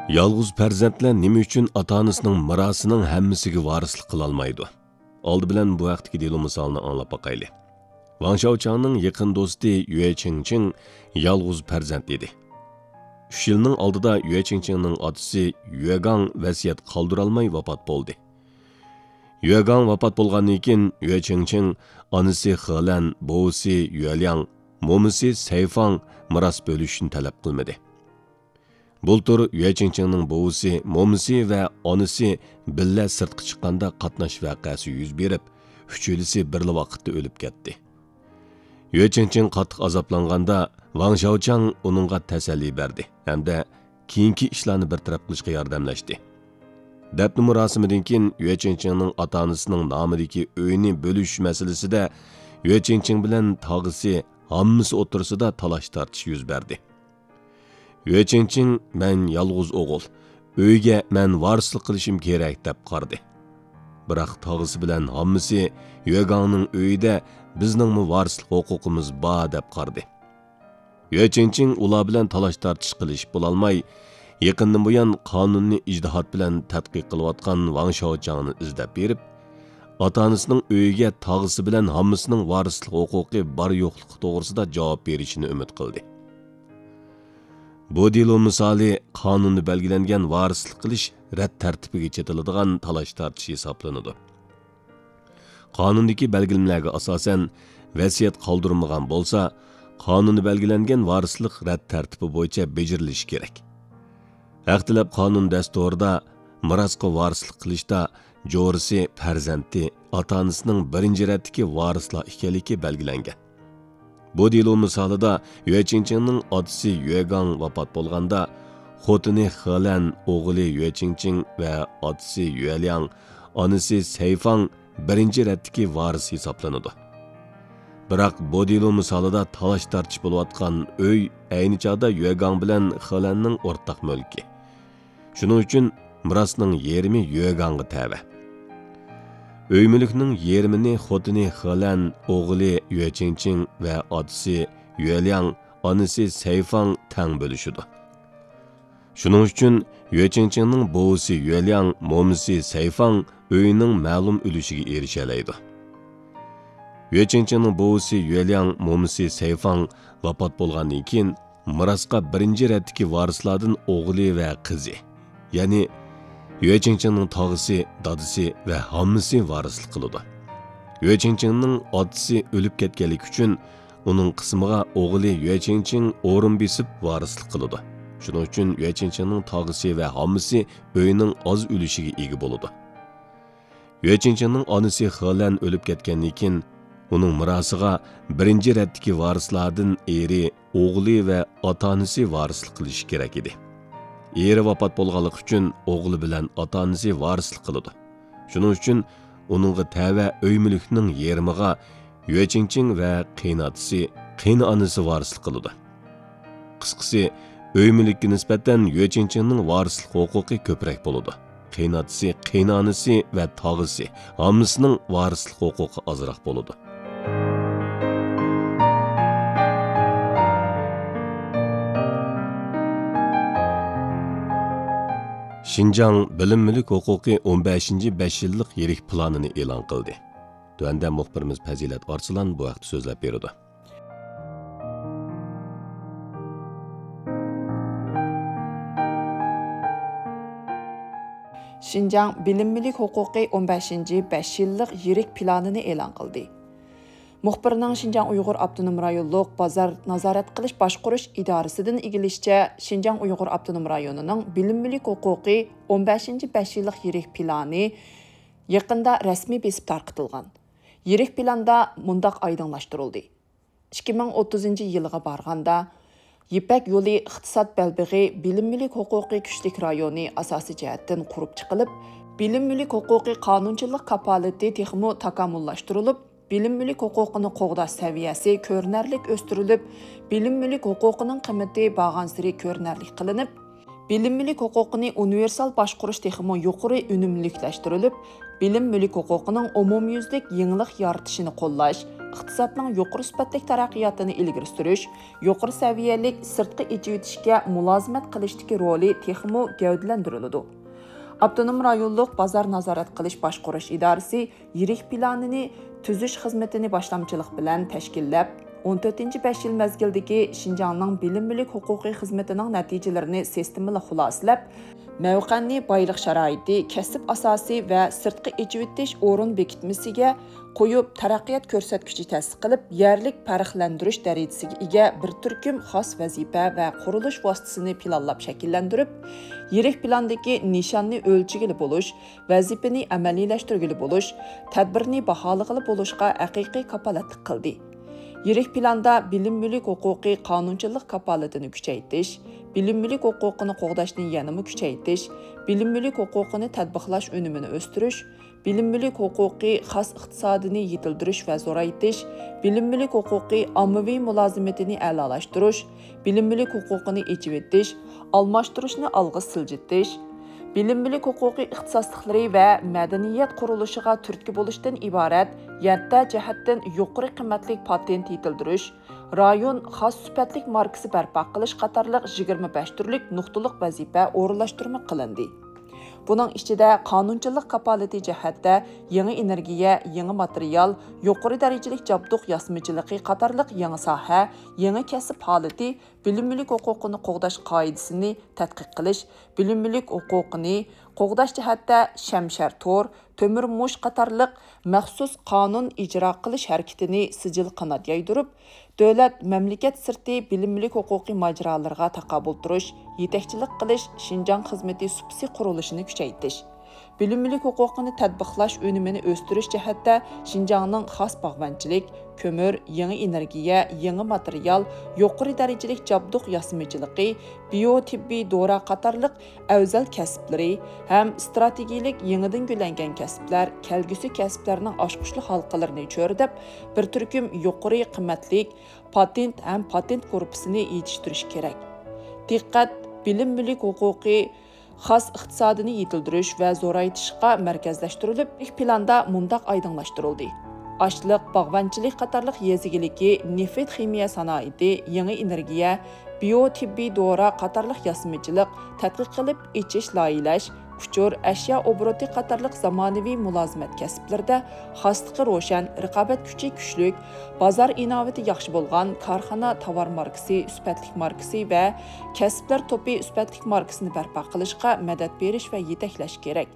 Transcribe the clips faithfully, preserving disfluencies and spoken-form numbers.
يالغۇز پەرزەنتلەر نېمە ئۈچۈن ئاتا-ئانىسىنىڭ مىراسىنىڭ ھەممىسىگە ۋارىسلىق قىلالمايدۇ؟ ئالدى بىلەن بۇ ھەقتىكى دېلو مىسالىنى ئاڭلاپ باقايلى. ۋاڭ شياۋچاڭنىڭ يېقىن دوستى يۈە چىڭچىڭ يالغۇز پەرزەنت ئىدى. ئۈچ يىلنىڭ ئالدىدا يۈە چىڭچىڭنىڭ ئاتىسى يۈەگاڭ ۋەسىيەت قالدۇرالماي ۋاپات بولدى. يۈەگاڭ ۋاپات بولغاندىن كېيىن، يۈە چىڭچىڭ ئانىسى خېلەن، بوۋىسى يۈەلياڭ، مومىسى سەيفاڭ مىراس بۆلۈشۈشنى تەلەپ قىلمىدى. بۇلتۇر يۈە چىڭچىڭنىڭ بوۋىسى، مومىسى ۋە ئانىسى بىللە سىرتقا چىققاندا قاتناش ۋەقەسى يۈز بېرىپ، ئۈچىلىسى بىرلا ۋاقىتتا ئۆلۈپ كەتتى. يۈە چىڭچىڭ قاتتىق ئازابلانغاندا، ۋاڭ شياۋچاڭ ئۇنىڭغا تەسەللى بەردى ھەمدە كېيىنكى ئىشلارنى بىر تەرەپ قىلىشقا ياردەملەشتى. دەپنە مۇراسىمىدىن كېيىن يۈە چىڭچىڭنىڭ ئاتا-ئانىسىنىڭ نامىدىكى ئۆينى بۆلۈش مەسىلىسىدە يۈە چىڭچىڭ بىلەن تاغىسى ھاممىسى ئوتتۇرىسىدا تالاش-تارتىش يۈز بەردى. يۈە چىڭچىڭ، مەن يالغۇز ئوغۇل، ئۆيگە مەن ۋارىسلىق قىلىشىم كېرەك دەپ قارىدى. بىراق تاغىسى بىلەن ھاممىسى يۈەگاڭنىڭ ئۆيىدە بىزنىڭمۇ ۋارىسلىق ھوقۇقىمىز بار دەپ قارىدى. يۈە چىڭچىڭ ئۇلار بىلەن تالاش-تارتىش قىلىشىپ بولالماي، يېقىندىن بۇيان قانۇننى ئىجتىھات بىلەن تەتقىق قىلىۋاتقان ۋاڭ شياۋچاڭنى ئىزدەپ بېرىپ، ئاتا-ئانىسىنىڭ ئۆيىگە تاغىسى بىلەن ھاممىسىنىڭ ۋارىسلىق ھوقۇقى بار-يوقلۇقى توغرىسىدا جاۋاب بېرىشىنى ئۈمىد قىلدى. بۇ دېلو مىسالى قانۇندا بەلگىلەنگەن ۋارىسلىق قىلىش رەت تەرتىپىگە چېتىلىدىغان تالاش-تارتىش ھېسابلىنىدۇ. قانۇندىكى بەلگىلىمىلەرگە ئاساسەن، ۋەسىيەت قالدۇرمىغان بولسا، قانۇندا بەلگىلەنگەن ۋارىسلىق رەت تەرتىپى بويىچە بېجىرىلىشى كېرەك. ھەق تەلەپ قانۇن دەستۇرىدا مىراسقا ۋارىسلىق قىلىشتا جورىسى، پەرزەنتى، ئاتا-ئانىسىنىڭ بىرىنچى رەتتىكى ۋارىسلار ئىكەنلىكى بەلگىلەنگەن. بۇ دېلو مىسالىدا يۈە چىڭچىڭنىڭ ئاتىسى يۈەگاڭ ۋاپات بولغاندا، خوتۇنى خېلەن، ئوغلى يۈە چىڭچىڭ ۋە ئاتىسى يۈەلياڭ، ئانىسى سەيفاڭ بىرىنچى رەتتىكى ۋارىس ھېسابلىنىدۇ. بىراق بۇ دېلو مىسالىدا تالاش-تارتىش بولۇۋاتقان ئۆي ئەينى چاغدا يۈەگاڭ بىلەن خېلەننىڭ ئورتاق مۈلكى. شۇنىڭ ئۈچۈن مىراسنىڭ يېرىمى يۈەگاڭغا تەۋە. ئۆي مۈلۈكنىڭ يېرىمىنى خوتۇنى خېلەن، ئوغلى يۈەچىڭچىڭ ۋە ئاتىسى يۈەلياڭ، ئانىسى سەيفاڭ تەڭ بۆلۈشىدۇ. شۇنىڭ ئۈچۈن يۈەچىڭچىڭنىڭ بوۋىسى يۈەلياڭ، مومىسى سەيفاڭ ئۆينىڭ مەلۇم ئۈلۈشىگە ئېرىشەلەيدۇ. يۈەچىڭچىڭنىڭ بوۋىسى يۈەلياڭ، مومىسى سەيفاڭ ۋاپات بولغاندىن كېيىن، مىراسقا بىرىنچى رەتتىكى ۋارىسلاردىن ئوغلى ۋە قىزى، يەنى يۈەچىڭچىڭنىڭ تاغىسى، دادىسى ۋە ھاممىسى ۋارىسلىق قىلىدۇ. يۈەچىڭچىڭنىڭ ئاتىسى ئۆلۈپ كەتكەنلىكى ئۈچۈن، ئۇنىڭ قىسمىغا ئوغلى يۈەچىڭچىڭ ئورۇن بېسىپ ۋارىسلىق قىلىدۇ. شۇنىڭ ئۈچۈن يۈەچىڭچىڭنىڭ تاغىسى ۋە ھاممىسى ئۆينىڭ ئاز ئۈلۈشىگە ئىگە بولىدۇ. يۈەچىڭچىڭنىڭ ئانىسى خېلەن ئۆلۈپ كەتكەندىن كېيىن، ئۇنىڭ مىراسىغا بىرىنچى رەتتىكى ۋارىسلاردىن ئېرى، ئوغلى ۋە ئاتا-ئانىسى ۋارىسلىق قىلىشى كېرەك ئىدى. ئېرى ۋاپات بولغانلىقى ئۈچۈن ئوغلى بىلەن ئاتا-ئانىسى ۋارىسلىق قىلىدۇ. شۇنىڭ ئۈچۈن ئۇنىڭغا تەۋە ئۆي مۈلۈكنىڭ يېرىمىغا يۈەچىڭچىڭ ۋە قېيىنئاتىسى، قېيىنئانىسى ۋارىسلىق قىلىدۇ. قىسقىسى، ئۆي مۈلۈككە نىسبەتەن يۈەچىڭچىڭنىڭ ۋارىسلىق ھوقۇقى كۆپرەك بولىدۇ. قېيىنئاتىسى، قېيىنئانىسى ۋە تاغىسى، ھاممىسىنىڭ ۋارىسلىق ھوقۇقى ئازراق بولىدۇ. شىنجاڭ بىلىم مۈلۈك ھوقۇقى ئون بەشىنچى بەش يىللىق يىرىك پىلانىنى ئېلان قىلدى. تۆۋەندە مۇخبىرىمىز پەزىلەت ئارسلان بۇ ھەقتە سۆزلەپ بېرىدۇ. شىنجاڭ بىلىم مۈلۈك ھوقۇقى ئون بەشىنچى بەش يىللىق يىرىك پىلانىنى ئېلان قىلدى. مۇخبىرنىڭ شىنجاڭ ئۇيغۇر ئاپتونوم رايونلۇق بازار نازارەت قىلىش باشقۇرۇش ئىدارىسىدىن ئىگىلىشىچە، شىنجاڭ ئۇيغۇر ئاپتونوم رايونىنىڭ بىلىم مۈلۈك ھوقۇقى ئون بەشىنچى بەش يىللىق يىرىك پىلانى يېقىندا رەسمىي بېسىپ تارقىتىلغان. يىرىك پىلاندا مۇنداق ئايدىڭلاشتۇرۇلدى: ئىككى مىڭ ئوتتۇزىنچى يىلغا بارغاندا، يىپەك يولى ئىقتىساد بەلبېغى بىلىم مۈلۈك ھوقۇقى كۈچلۈك رايونى ئاساسىي جەھەتتىن قۇرۇپ چىقىلىپ، بىلىم مۈلۈك ھوقۇقى قانۇنچىلىق كاپالىتى تېخىمۇ تاكامۇللاشتۇرۇلۇپ، بىلىم مۈلۈك ھوقۇقىنى قوغداش سەۋىيەسى كۆرۈنەرلىك ئۆستۈرۈلۈپ، بىلىم مۈلۈك ھوقۇقىنىڭ قىممىتى بارغانسېرى كۆرۈنەرلىك قىلىنىپ، بىلىم مۈلۈك ھوقۇقىنى ئۇنىۋېرسال باشقۇرۇش تېخىمۇ يۇقىرى ئۈنۈملۈكلەشتۈرۈلۈپ، بىلىم مۈلۈك ھوقۇقىنىڭ ئومۇميۈزلۈك يېڭىلىق يارىتىشىنى قوللاش، ئىقتىسادنىڭ يۇقىرى سۈپەتلىك تەرەققىياتىنى ئىلگىرى سۈرۈش، يۇقىرى سەۋىيەلىك سىرتقا ئېچىۋېتىشكە مۇلازىمەت قىلىشتىكى رولى تېخىمۇ گەۋدىلەندۈرۈلىدۇ. ئاپتونوم رايونلۇق بازار نازارەت قىلىش باشقۇرۇش ئىدارىسى يىرىك پىلانىنى تۈزۈش خىزمىتىنى باشلامچىلىق بىلەن تەشكىللەپ، ئون تۆتىنچى بەش يىل مەزگىلدىكى شىنجاڭنىڭ بىلىم مۈلۈك ھوقۇقى خىزمىتىنىڭ نەتىجىلىرىنى سىستېمىلىق خۇلاسىلەپ، مەۋقەنى بايلىق شارائىتى، كەسىپ ئاساسى ۋە سىرتقا ئېچىۋېتىش ئورۇن بېكىتمىسىگە قويۇپ، تەرەققىيات كۆرسەتكۈچى تەسىس قىلىپ، يەرلىك پەرقلەندۈرۈش دەرىجىسىگە ئىگە بىر تۈركۈم خاس ۋەزىپە ۋە قۇرۇلۇش ۋاسىتىسىنى پىلانلاپ شەكىللەندۈرۈپ، يىرىك پىلاندىكى نىشاننى ئۆلچىگىلى بولۇش، ۋەزىپىنى ئەمەلىيلەشتۈرگىلى بولۇش، تەدبىرنى باھالىغىلى بولۇشقا ھەقىقىي كاپالەتلىك قىلدى. يىرىك پىلاندا بىلىم مۈلۈك ھوقۇقى قانۇنچىلىق كاپالىتىنى كۈچەيتىش، بىلىم مۈلۈك ھوقۇقىنى قوغداشنى يەنىمۇ كۈچەيتىش، بىلىم مۈلۈك ھوقۇقىنى تەتبىقلاش ئۈنۈمىنى ئۆستۈرۈش، بىلىم مۈلۈك ھوقۇقى خاس ئىقتىسادىنى يېتىلدۈرۈش ۋە زورايتىش، بىلىم مۈلۈك ھوقۇقى ئاممىۋى مۇلازىمىتىنى ئەلالاشتۇرۇش، بىلىم مۈلۈك ھوقۇقىنى ئېچىۋېتىش، ئالماشتۇرۇشنى ئالغا سىلجىتىش، بىلىم مۈلۈك ھوقۇقى ئىختىساسلىقلىرى ۋە مەدەنىيەت قۇرۇلۇشىغا تۈرتكە بولۇشتىن ئىبارەت يەتتە جەھەتتىن يۇقىرى قىممەتلىك پاتېنت يېتىلدۈرۈش، رايون خاس سۈپەتلىك ماركىسى بەرپا قىلىش قاتارلىق يىگىرمە بەش تۈرلۈك نۇقتىلىق ۋەزىپە ئورۇنلاشتۇرما قىلىندى. بۇنىڭ ئىچىدە قانۇنچىلىق كاپالىتى جەھەتتە يېڭى ئېنېرگىيە، يېڭى ماتېرىيال، يۇقىرى دەرىجىلىك جابدۇق ياسىمىچىلىقى قاتارلىق يېڭى ساھە، يېڭى كەسىپ ھالىتى، بىلىم مۈلۈك ھوقۇقىنى قوغداش قائىدىسىنى تەتقىق قىلىش، بىلىم مۈلۈك ھوقۇقىنى قوغداش جەھەتتە شەمشەر تور، تۆمۈر مۇش قاتارلىق مەخسۇس قانۇن ئىجرا قىلىش ھەرىكىتىنى سىجىل قانات يايدۇرۇپ، دۆلەت، مەملىكەت سىرتى بىلىم مۈلۈك ھوقۇقى ماجىرالىرىغا تاقابىل تۇرۇش، يېتەكچىلىك قىلىش، شىنجاڭ خىزمىتى سۇپىسى قۇرۇلۇشىنى كۈچەيتىش. بىلىم مۈلۈك ھوقۇقىنى تەتبىقلاش ئۈنۈمىنى ئۆستۈرۈش جەھەتتە شىنجاڭنىڭ خاس باغۋەنچىلىك، كۆمۈر، يېڭى ئېنېرگىيە، يېڭى ماتېرىيال، يۇقىرى دەرىجىلىك جابدۇق ياسىمىچىلىقى، بىيو تېببىي دورا قاتارلىق ئەۋزەل كەسىپلىرى ھەم ئىستراتېگىيەلىك يېڭىدىن گۈللەنگەن كەسىپلەر كەلگۈسى كەسىپلەرنىڭ ئاچقۇچلۇق ھالقىلىرىنى چۆرىدەپ، بىر تۈركۈم يۇقىرى قىممەتلىك پاتېنت ھەم پاتېنت گۇرۇپپىسىنى يېتىشتۈرۈش كېرەك. دىققەت بىلىم مۈلۈك ھوقۇقى خاس ئىقتىسادىنى يېتىلدۈرۈش ۋە زورايتىشقا مەركەزلەشتۈرۈلۈپ، ئىلك پىلاندا مۇنداق ئايدىڭلاشتۇرۇلدى: ئاشلىق، باغۋەنچىلىك قاتارلىق يېزا ئىگىلىكى، نېفىت خىمىيە سانائىتى، يېڭى ئېنېرگىيە، بىيو تېببىي دورا قاتارلىق ياسىمىچىلىق، تەتقىق قىلىپ ئېچىش، لايىھەلەش، ئۇچۇر، ئەشيا ئوبوروتى قاتارلىق زامانىۋى مۇلازىمەت كەسىپلىرىدە خاسلىقى روشەن، رىقابەت كۈچى كۈچلۈك، بازار ئىناۋىتى ياخشى بولغان كارخانا تاۋار ماركىسى، سۈپەتلىك ماركىسى ۋە كەسىپلەر توپى سۈپەتلىك ماركىسىنى بەرپا قىلىشقا مەدەت بېرىش ۋە يېتەكلەش كېرەك.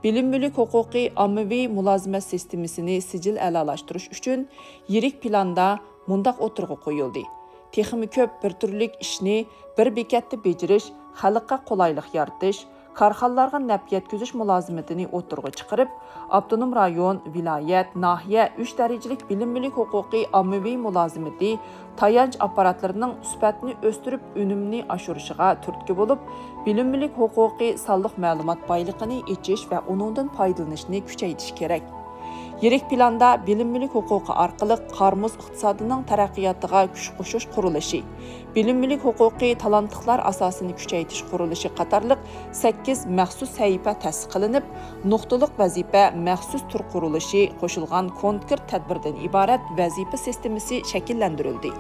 بىلىم مۈلۈك ھوقۇقى ئاممىۋى مۇلازىمەت سىستېمىسىنى سىجىل ئەلالاشتۇرۇش ئۈچۈن يىرىك پىلاندا مۇنداق ئوتتۇرىغا قويۇلدى: تېخىمۇ كۆپ بىر تۈرلۈك ئىشنى بىر بېكەتتە بېجىرىش، خەلققە قولايلىق يارىتىش، كارخانىلارغا نەپ يەتكۈزۈش مۇلازىمىتىنى ئوتتۇرىغا چىقىرىپ، ئاپتونوم رايون، ۋىلايەت، ناھىيە، ئۈچ دەرىجىلىك بىلىم مۈلۈك ھوقۇقى ئاممىۋى مۇلازىمىتى تايانچ ئاپپاراتلىرىنىڭ سۈپەتنى ئۆستۈرۈپ، ئۈنۈمنى ئاشۇرۇشىغا تۈرتكە بولۇپ، بىلىم مۈلۈك ھوقۇقى سانلىق مەلۇمات بايلىقىنى ئېچىش ۋە ئۇنىڭدىن پايدىلىنىشنى كۈچەيتىش كېرەك. يىرىك پىلاندا بىلىم مۈلۈك ھوقۇقى ئارقىلىق قار-مۇز ئىقتىسادىنىڭ تەرەققىياتىغا كۈچ قوشۇش قۇرۇلۇشى، بىلىم مۈلۈك ھوقۇقى تالانتلىقلار ئاساسىنى كۈچەيتىش قۇرۇلۇشى قاتارلىق سەككىز مەخسۇس سەھىپە تەسىس قىلىنىپ، نۇقتىلىق ۋەزىپە مەخسۇس تۈر قۇرۇلۇشى قوشۇلغان كونكرېت تەدبىردىن ئىبارەت ۋەزىپە سىستېمىسى شەكىللەندۈرۈلدى.